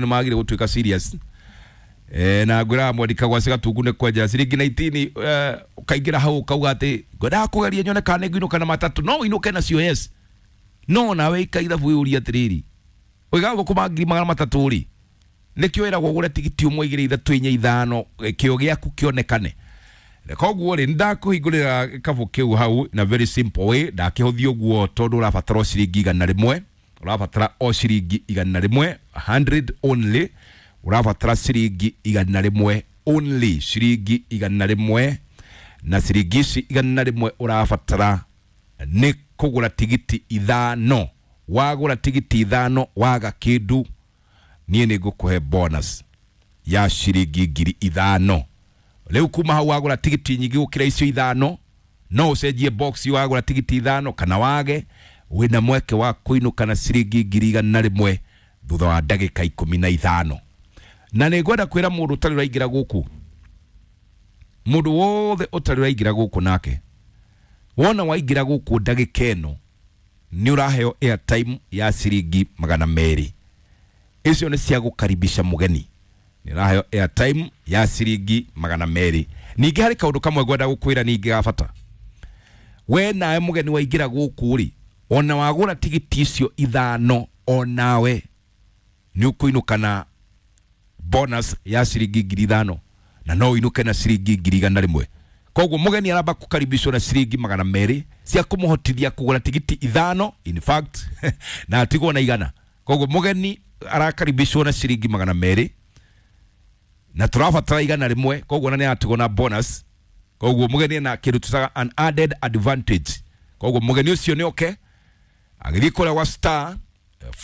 Nĩ magire gũtuĩka serious na ngwĩraga mwandika gwa cigatungu nĩ kwenjera ciringi 19, ũkaingĩra hau ũkauga atĩ ngwendaga kũgeria nyone kana nĩ ngũinũka na matatũ. No ũinũke nacio, yes, no nawe ika ithabu wĩyũrie atĩrĩrĩ, ũigaga gũkũma 300,000 rĩ, nĩkĩo wĩragwo ũgũre tigiti ũmwe, igĩrĩ, ithatũ, inya, ithano, kĩo gĩaku kĩonekane. Koguo rĩ, nĩndakũhingũrĩra gĩkabũ kĩu hau na very simple way. Ndakĩhũthia ũguo tondũ ũrabatara o ciringi 100, ũrabatara o ciringi 100, 100 only. Ũrabatara ciringi 100 only, ciringi 100. Na ciringi ici 100 ũrabatara nĩ kũgũra tigiti ithano. Wagũra tigiti ithano, waga kĩndũ, niĩ nĩ ngũkũhe bonus ya ciringi 5,000. Rĩu kuma hau wagũra tigiti nyingĩ gũkĩra icio ithano, no ũcenjie box. Wagũra tigiti ithano kana wage, wĩna mweke wa kũinũka na ciringi 100,000 thutha wa ndagĩka 15. Na nĩ ngwenda kwĩra mũndũ ũtarĩ ũraingĩra gũkũ, mũndũ wothe ũtarĩ ũraingĩra gũkũ, nake wona waingĩra gũkũ ndagĩka ĩno, nĩ ũraheo airtime ya ciringi 200. Icio nĩ cia gũkaribisha mũgeni. Nĩ ũraheo airtime ya ciringi 200. Ningĩ harĩ kaũndũ kamwe ngwenda gũkwĩra ningĩ ga bata. We nawe mũgeni waingĩra gũkũ rĩ, ona wagũra tigiti icio ithano, onawe nĩ ũkũinũka na bonus ya ciringi 5,000, na no ũinũke na ciringi 100,000. Koguo mũgeni aramba kũkaribishwo na ciringi 200 cia kũmũhotithia kũgũra tigiti ithano, in fact, na atigwo na 100. Koguo mũgeni arakaribishwo na ciringi 200 na tũrabatara 100, koguo na nĩ aratigwo na bonus. Koguo mũgeni na kĩndũ tũtaga an added advantage. Koguo mũgeni ũcio nĩ oke agĩthiĩ kũrĩa gwa star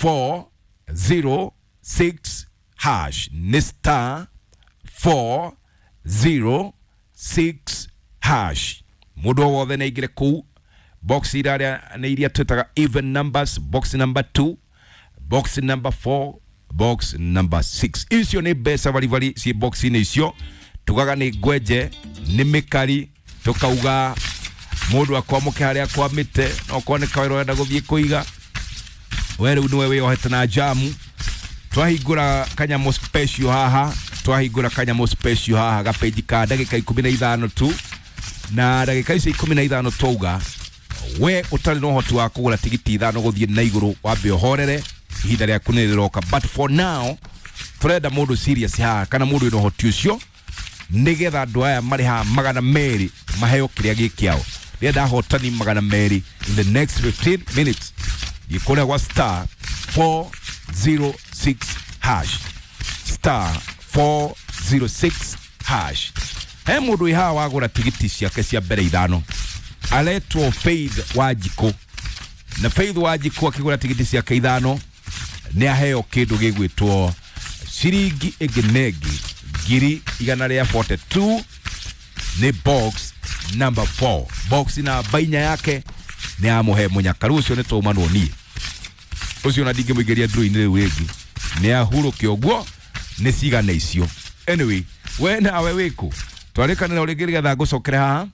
406 hash, nĩ star 406 hash. Mũndũ o wothe nĩ aingĩre kũu. Box iraria nĩ iria twĩtaga even numbers: box number 2, box number 4, box number 6. Icio nĩ mbeca baribari ciĩ box-inĩ icio. Tugaga nĩ ngwenje, nĩ mĩkari, tukauga mũndũ akwamũke harĩa akwamĩte. No korwo nĩ kawĩra ũrenda gũthiĩ kũiga, we rĩu nĩwe wĩyohete na jamu. Twahingũra kanyamũ special haha, twahingũra kanyamũ special haha gapeji ka ndagĩka 15 tu. Na ndagĩka icio 15, twauga we ũtarĩ na ũhoti wa kũgũra tigiti ithano gũthiĩ na igũrũ, wambe ũhorere, ihinda rĩaku nĩ rĩroka. But for now tũrenda mũndũ serious haha kana mũndũ wĩna ũhoti ũcio, nĩgetha andũ aya marĩ haha 200 maheo kĩrĩa gĩ kĩao. Ndĩrenda ahotani 200 in the next 15 minutes. Thiĩ kũrĩa gwa star 406 hash, star 406 hash. He mũndũ wĩ haha wagũra tigiti ciake cia mbere ithano, aretwo Faith Wanjikũ. Na Faith Wanjikũ akĩgũra tigiti ciake ithano, nĩ aheo kĩndũ gĩgwĩtwo ciringi ĩngĩ na ĩngĩ 142,000. Nĩ box number 4, box namba inya yake nĩ amũhe mũnyakaru ũcio. Nĩ twaumanwo niĩ ũcio na ndingĩmũingĩria ndũrũ-inĩ rĩu rĩngĩ, nĩ ahurũke ũguo nĩ cigana icio. Anyway, we nawe wĩkũ? Twarĩkanĩra rĩngĩ nĩgetha ngũcokere haha.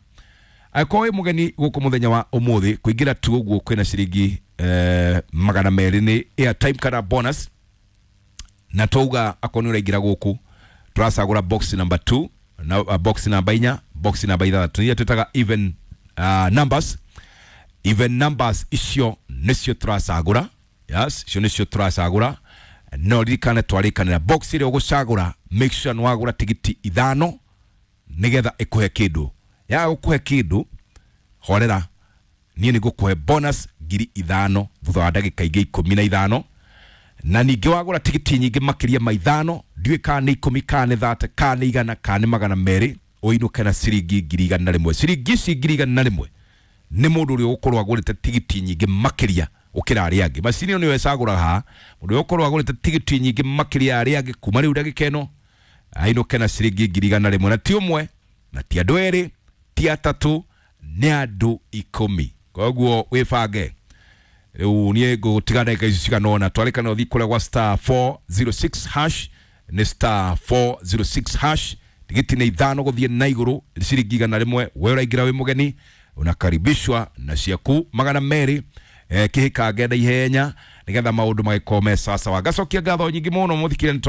Angĩkorwo wĩ mũgeni gũkũ mũthenya wa ũmũthĩ, kũingĩra tu ũguo kwĩna ciringi 200, nĩ airtime kana bonus. Na twauga akorwo nĩ ũraingĩra gũkũ, tũracagũra box number 2 na box namba inya, box namba ithathatũ, iria twĩtaga even numbers. Even numbers icio nĩcio tũracagũra. Yes, icio nĩcio tũracagũra. No ririkane twarĩkanĩra box ĩrĩa ũgũcagũra, make sure nĩ wagũra tigiti ithano nĩgetha ĩkũhe kĩndũ. Yaga gũkũhe kĩndũ, horera, niĩ nĩ ngũkũhe bonus 5,000 thutha wa ndagĩka ingĩ 15. Na ningĩ wagũra tigiti nyingĩ makĩria ma ithano, ndiũĩ kana nĩ 10, kana nĩ 30, kana nĩ 100, kana nĩ 200, ũinũke na ciringi 100,000. Ciringi ici 100,000 nĩ mũndũ ũrĩa ũgũkorwo agũrĩte tigiti nyingĩ makĩria gũkĩra arĩa angĩ. Macini ĩyo nĩyo ĩcagũraga haha. Mũndũ ũrĩa ũgũkorwo agũrĩte tigiti nyingĩ makĩria ya arĩa angĩ kuma rĩu ndagĩka ĩno, ainũke na ciringi 100,000. Na ti ũmwe, na ti andũ erĩ, ti atatũ, nĩ andũ 10. Koguo wĩbange. Rĩu niĩ ngũtiga ndagĩka ici cigana ũna. Twarĩkana ũthiĩ kũrĩa gwa star 406 hash, nĩ star 406 hash. Tigiti nĩ ithano gũthiĩ na igũrũ, ciringi 100. We ũraingĩra wĩ mũgeni, unakaribishwa na ciaku 200. Kĩhĩkange na ihenya. Nigetha maundu magikorwo me sawa sawa. Ngacokia ngatho nyingĩ mũno mũthikire nĩ.